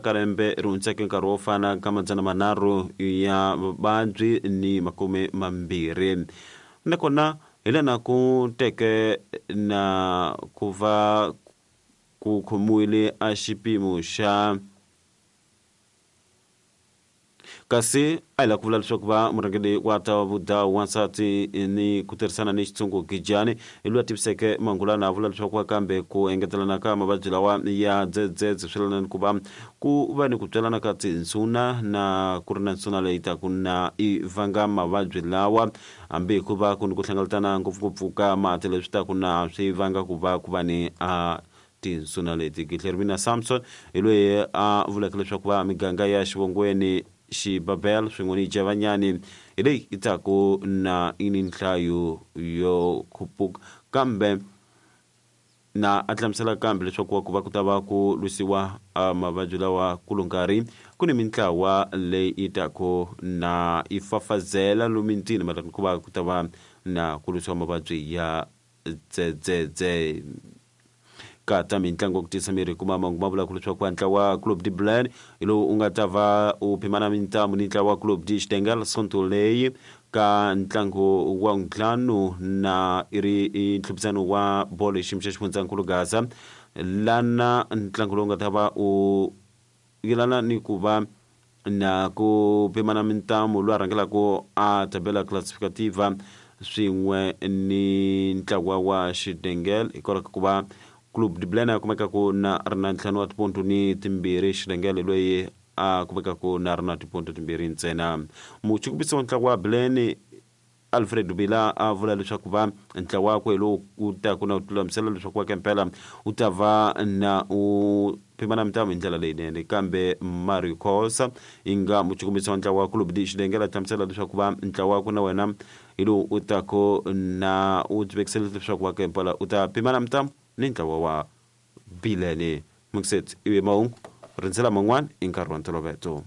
Ka lembe ri hundzeke nkarhi wo fana ka 300 ya vavabyi ni 20. Nakona hi lana ku teke na ku va ku khomiwile a xipimo xa kasi a hi lava ku vula leswaku va murhangeri wa ta vudawu wansati ni ku tirhisana ni xitshungu Gijani hi loyi a tiviseke mangulana a vula leswaku kambe ku engetelana ka mavabyi lawa ya dzedzedze swi lana ni ku va ku va ni ku tswalana ka tinsuna na ku ri na nsuna leyi taku na i vanga mavabyi lawa hambi hi ku va ku ni ku hlengeletana ngopfungopfu ka mati leswi taku na swi vanga ku va ku va ni a tinsuna leti. Gihlermina Samson hi loyi a vuleke leswaku va miganga ya Xivongweni, Xibabel swin'we ni Javanyani hi leyi yi taku na yi ni nhlayo yo khupuka kambe na a hlamusela kambe leswaku ku va ku ta va ku lwisiwa mavabyi lawa ku lo nkarhi ku ni mintlawa leyi yi taku na yi fafazela lomu mitini mayelana ku va ku ta va na ku lwisiwa mavabyi ya dzedzedze. Ka ta mintlangu ku tiyisa miri kuma mahungu ma vulaka leswaku ntlawa wa Club de Blen hi lowu u nga ta va u phimana mintamu ni ntlawa wa Club de Xitengel Sonto leyi ka ntlangu wa ntlhanu na i ri i ntlhuphisano wa bolo hi xiyimo xa xifundzankulu Gaza lana ntlangu lowu nga ta va u yelana ni ku va na ku pimana mintamu loyi a rhangelaka a tabela classificativa swin'we ni ntlawa wa Xidengel hikwalaho ka ku va Club de Blena a kumekaku na ri na ntlhanu wa tiponto ni timbirhi Xidengel loyi a kumekaku na ri na tiponto timbirhi ntsena. Muchukumisi wa ntlawa wa Blen Alfred Bila a vula leswaku va ntlawa wakwe lowu wu taku na u lulamisela leswaku wa kempela wu ta va na u pimana mintamu hi ndlela leyinene kambe Mario Khosa yi nga muchukumisi wa ntlawa wa Club de Xidengela hlamusela leswaku va ntlawa wakwe na wena hi lowu u taku na u tivekisela leswaku wa kempela u ta pimana mintamu ni ntlawa wa Bilene Mixet ivi mahungu rindzela man'wana i nkarhi wa ntoloveto.